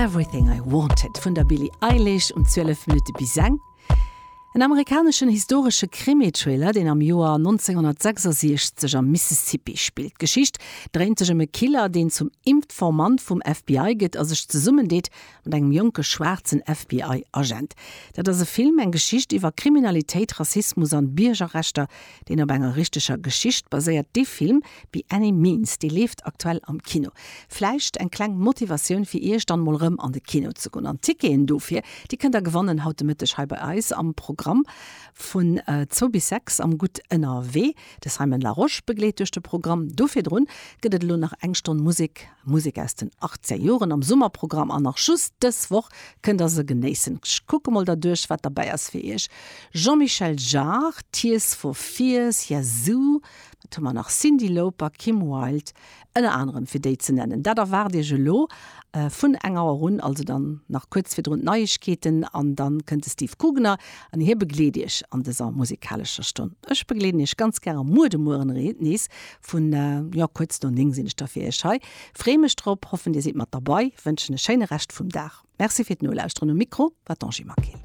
Everything I Wanted vun der Billie Eilish um 12 Minutte bis eng. En amerikaneschen historesche Krimi-Thriller, deen am Joer 1966 am Mississippi spillt. D'Geschicht dréint sech ëm e Killer, deen zum Informant vum FBI gëtt a sech zesummendeet mat engem jonke schwaarzen FBI-Agent. Dat ass e Film, eng Geschicht iwwer Kriminalitéit, Rassismus an Biergerrechter, deen op enger richteger Geschicht baséiert. Dee Film By Any Means, dee leeft aktuell am Kino. Vläicht eng kleng Motivatioun fir iech dann mol rëm an de Kino ze goen. An d'Ticketen dofir, déi kënnt der gewannen haut de Mëtteg hei bei eis am Programm vun zwou bis 6 am Gutt ënnerwee. De Simon Larosche begleet duerch de Programm. Do virdrun gëtt et elo nach eng Stonn Musek, Musek aus den 80er Joren am Summerprogramm an nach just dës Woch kënnt der se genéissen. Ech kucke mol derduerch wat derbäi ass fir iech, Jean-Michel Jarre, Tears for Fears, Yazoo, Wat hu mer nach? Cyndi Lauper, Kim Wilde, ënner anerem, fir déi ze nennen. Dat erwaart Iech elo vun eng Auer un, also dann nach kuerz virdrun d'Neiegkeeten an dann kënnt de Steve Kugner an hie begleet Iech an dëser musikalescher Stonn. Ech begleeden Iech ganz gäre muer de Mueren nees vun, jo, kuerz no 9 sinn ech da fir Iech hei. Free mech drop, hoffen Dir sidd mat derbei, wënschen e schéine Rescht vum Dag. Merci fir d'Nolauschteren. Um Mikro war d'Angie Maquil.